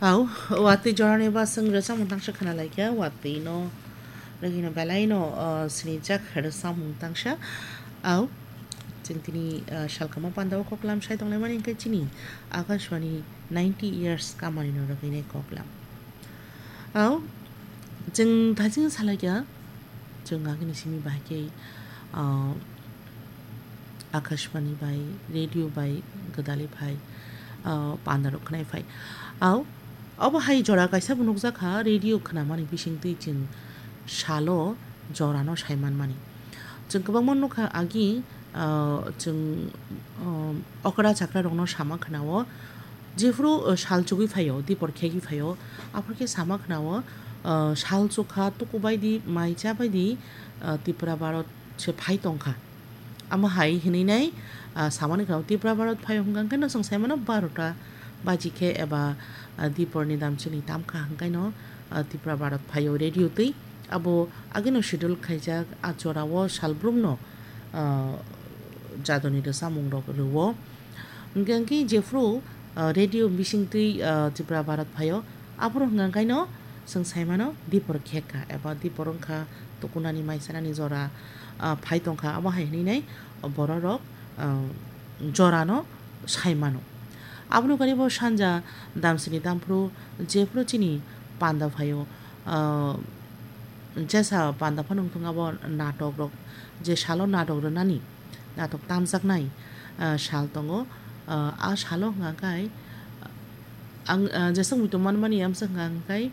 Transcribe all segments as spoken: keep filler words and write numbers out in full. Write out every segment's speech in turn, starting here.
Au, watwi jorani baswng rwchapmung tangsa khna laikha, watwi no rwgwino belai no, ah, sinijak rwchapmung tangsa. Au, chwng tini, ah, salkama pandao koklam sai tonglaimani hwnkhe chini Akashbani ninety years kamani no rwgwinai koklam. Au, chwng thaiching salaikha, chwng agini simi bahai khe, ah, Akashbani bai, radio bai gwdalwi phai, ah, pandarok khnai phai. Au, obo hai jora kaisa bo nukjakha, radio khnamani bisingtwi chwng salo jorano sai manmani. Chwng kwbangma nukha agi, ah, chwng, ah, okra chakra rokno sama khnao, jephru, ah, sal chugwi phaio, dipor khegwi phaio, aphuru khe sama khnao, ah, sal chukha tuku baidi, mai cha baidi, ah, Tripura Bharot se phai tongkha. Amo hai hinwi nai, ah, samani kha Tripura Bharot phai hwnkha khe no chwng sai mano barota baji khe eba, ah, diporni dam chini tam kha hwnkhe no, ah, Tripura Bharot phaio radio twi. Abo agino schedule khaijak, ah, jorao salbrumno, ah, jadoni rwchapmung rok rwo. Hwnkhe jephru, ah, radio bisingtwi, ah, Tripura Bharot phaio, aphuru hwnkha khe no chwng sai mano dipor khekha eba dipor wngkha tukunani mai chanani jora, ah, phai tongkha, abo hai hinwi nai bororok, ah, jorano sai mano. Aboni ugari bo sanja damsini damphru jephru chini panda phaio, ah, jesa panda phano wngthung abo natok rok, je salo natok rwnani, natok tamjaknai, ah, sal tongo. Ah, a salo hwnka khe ang, ah, jeswk muitu manmani amsa hwnka khe,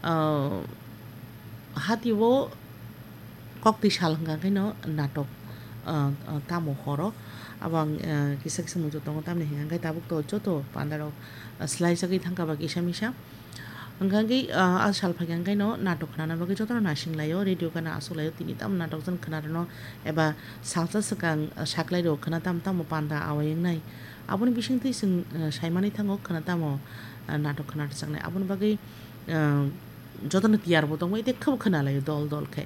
ah, hatio koktwi sal hwnka khe no natok, ah, ah, tamo horo. Abo ang, ah, kisa kisa muitu tongo, tamni hwnka khe tabuk to joto pandarok, ah, swlaijagwi thangkha ba kisa misa. Hwnkha khe, ah, a sal phaikha hwnkhe no natok khnana bagwi jotono naising laio, radio gana aswk laio, tini tamo natok jan khna rwno eba salsa swkang, ah, saklai rw khna tamo tamo panda awai wngnai. Aboni bisingtwi chwng, ah, saimani thango khna tamo, ah, natok khna rwjaknai. Aboni bagwi, ah, jotono tiyar bo tongbai tei khebo khna laio dol dol khe.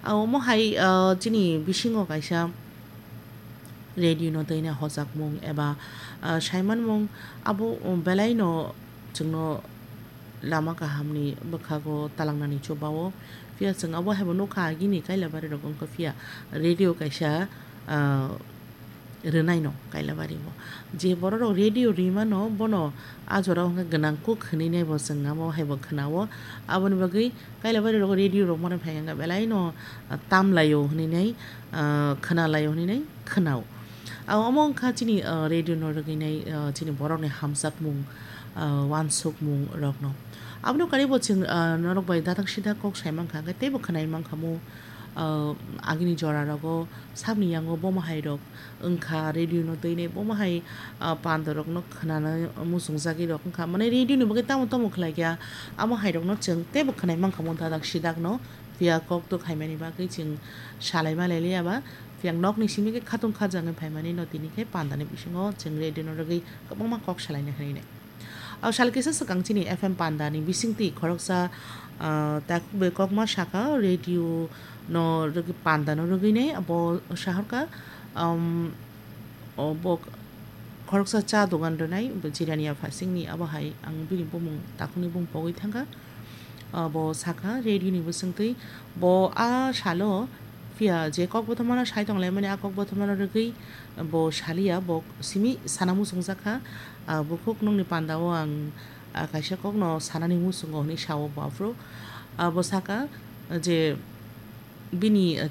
Ah, omo hai, ah, chini bisingo kaisa radio no twi nai hojakmung eba, ah, saimanmung abo, um, belai no chwngno lama kahamni bwkhago talangnani chubao. Phiya chwng abo hai bo nukha, agini Kailabari rok wngkha phiya radio kaisa, ah, rwnaino Kailabari o. Je borok rok radio rimano bono a jora o hwnkhe gwnang kuk hwnwi nai bo chwng abo hai bo khwnao. Aboni bagwi Kailabari rogo radio rok mano phai hwnkha belai no, ah, tam laio hwnwi nai, ah, khna laio hwnwi nai khwnao. Ah, omo wngkha chini, ah, radio no rwgwi nai, ah, chini borok ni hamjakmung, ah, wansukmung rok no. Aboni karibo chwng, ah, norok bai dadak sidak kok sai mankha hwnkhe teibo khwnai mankha mu, ah, agini jora rogo sabni yango bomo hai rok wngkha, radio no twi nai bomo hai, ah, panda rok no khwnana muchungjagwi rok wngkha. Mane radio ni bagwi tamo tamo khlai kha, amo hai rok no chwng teibo khwnai mankha mo dadak sidak no, phiya kok tok hai mani bagwi chwng salai malai liya ba, phiya nok ni simi khe khatung khajagwi phai mani no tini khe panda ni bisingo chwng radio no rwgwi kwbangma kok salai na hinwi nai. O sal kisa swkang chini F M panda ni bisingtwi khoroksa, ah, takhuk bai kokma sakha radio no rwgwi panda no rwgwi nai abo sahorkha, um, o bo khoroksa cha dogan rwnai bo jirani ya phasing ni abo hai ang bini bumung takhuk ni bumung pogwi thangkha. Ah, bo sakha radio ni bisingtwi bo a salo phiya je kok bothomano sai tonglaimani a kok bothomano rwgwi bo saliya, bo simi sana muchungjakha. Ah, bukhuk nokni pandao ang, ah, kaisa kokno sanani muchungo hinwi sao bo aphuru. Ah, bo saka je bini, ah,